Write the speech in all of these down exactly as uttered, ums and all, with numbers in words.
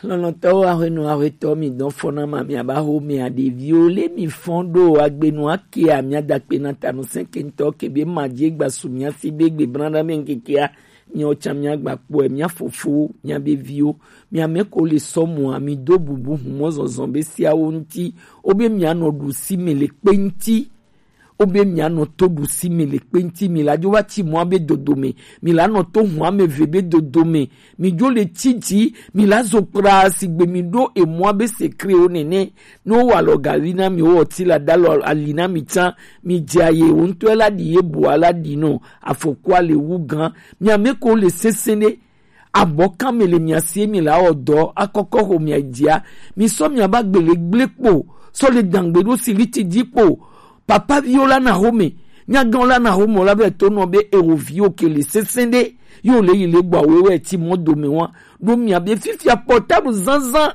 Lɔlɔ̃tɔwo, aƒenɔ, aƒetɔ, mi dɔn fɔna ma, mi aba ho mi aɖeviwo le mi fɔn ɖo agbenu ake a mi adakpe na tanu sɛnkentɔ ke be ma dzi gba su mi asi be gbe branda me ŋkekea, mi ɔtsa mi agba kpɔe, mi afofo, mi abeviwo, mi ame ko le sɔmua, mi do bubu humɔ zɔzɔ be siawo ŋuti, wo be mi anɔ ɖu si me le kpe ŋuti. Wo be mianɔ to ɖusi me le kpe ŋuti, mi la dzo va tsi mɔa be dodome, mi la nɔ to hua me ve be dodome, mi dzo le tsi dzi, mi la zo kpla sigbe mi ɖo emɔa be sekrewo nene. Ne wo wa lɔ gavi na mi, wo ɔti la da lɔ ali na mi tsã, mi dze aye wo ŋutɔe la ɖi ye bua la ɖi nɔ afɔkua le wu gã. Mi ame ko le sese ɖe, abɔ kan me le mia sie mi la wɔ dɔ akɔkɔ ho mia dzia, mi sɔ mia ba gbele gble kpo, sɔ le dangbe ɖo siliti dzi kpo. Papa viwo la na home, nyagãwo la na home la be to nɔ be ewo viwo ke le sese ɖe, yo le yi le gbɔ awo wɛ ti mɔ dome wa. Ɖo mia be fifia portable zanzan,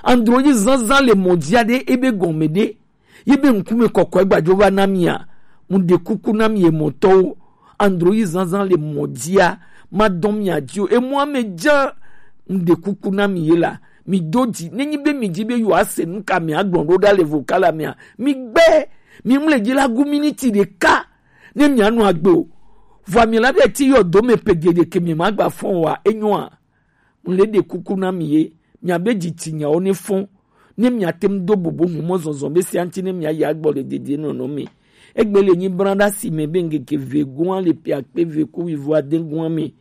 androyi zanzan le mɔ dzia ɖe ebe gɔme ɖe. Yi be ŋkume kɔkɔe gbadzo va na mia, mu ɖe kuku na mi emɔtɔwo. Androyi zanzan le mɔ dzia, ma dɔn mia dzi o. Emɔa me dza, mu ɖe kuku na mi ye la, mi do dzi. Ne nyi be mi dzi be yo ase nu ka mi agblɔ ɖo ɖa le vocal la mea, mi gbe, mi mle dzi la gu miniti ɖeka, ne mia nɔ agbe o. Vɔa mi la be ti yɔ do me pe gede ke mi ma gba fɔn wa, enyoa. Mu le ɖe kuku na mi ye, mia be dzi tsi nyawo ne fɔn, ne mia te ŋu do bubu humɔ zɔzɔ be sia ŋuti ne mia ya gbɔ le dede nɔnɔ me. Egbe le nyi bran ɖa si me be ŋkeke ve gua le pia kpe ve ku wivo ade gua me.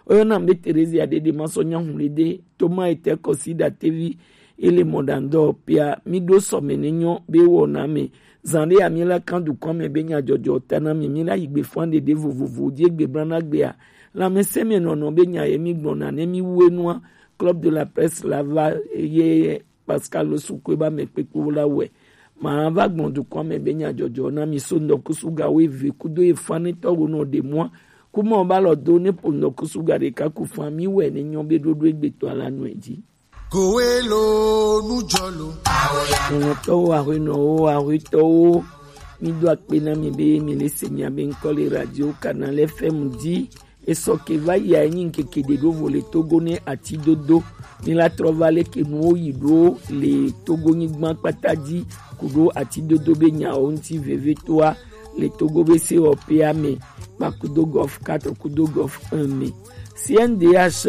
Oyɔna be Terezia ɖeɖe ma sɔ nya hu le de, Toma ete kɔsi ɖa tevi, ele mɔ ɖa ŋdɔ pia, mi ɖo sɔ me ne nyɔ be wɔna me. Zan ɖe ya mi la kan dukɔ me be nya jɔjɔ ta na mi, mi la yi gbe fɔn ɖeɖe vovovo, dzi egbe bran na gbea. Lãmesẽmenɔnɔ be nya ye mi gblɔna ne mi wu enua, Club de la Presse la va ye Pascal Sukue ba me kpekpe la wɛ. Ma va gblɔ dukɔ me be nya jɔjɔ na mi so ŋdɔkusu ga wo eve kudo efanetɔ wo nɔ ɖe mua. Kuma ba lɔ do ne po ŋdɔkusu ga ɖeka ku fan mi wɛ ne nyɔ be ɖoɖo egbetɔ la nɔ edzi. Kowe lo nujɔ lo. Nɔnɔtɔwo, ahuenɔwo, ahuetɔwo, mi do akpe na mi be mi le se mia be ŋkɔ le radio Canal F M dzi. Esɔ ke va yi a enyi ŋkeke ɖe ɖo vo le Togo ne ati dodo. Mi la trɔ va le ke nuwo yi ɖo le Togo nyigba kpata dzi ku ɖo ati dodo be nyawo ŋuti vevetoa le Togo be se wɔ pe ame kpa kudo Golf quatre kudo Golf un me. C N D H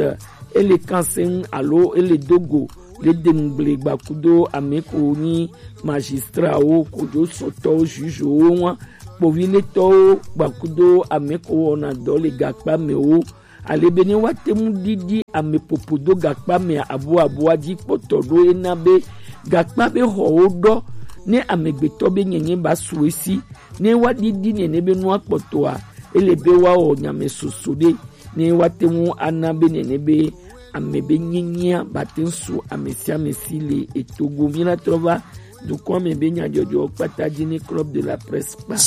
ele kan seŋ alo ele dogo le dengble gba kudo ame ko nyi magistrawo kojo sɔtɔwo, jugewo wa, kpoviletɔwo gba kudo ame ko wɔna dɔ le gakpa me wo. Ale be ne wa te ŋu ɖiɖi ame popo do gakpa me abu abua dzi kpɔtɔ ɖo ena be gakpa be xɔwo ɖɔ ne amegbetɔ be nyenye ba su esi. Ne wa ɖiɖi nene be nua kpɔtɔa, ele be wa wɔ nyame soso ɖe. Ne wa te ŋu ana be nene be ame be nyenyea ba te ŋu su ame sia ame si le etogo. Mi la trɔ va dukɔ me be nyadzɔdzɔ kpata dzi ne Club de la Presse kpa.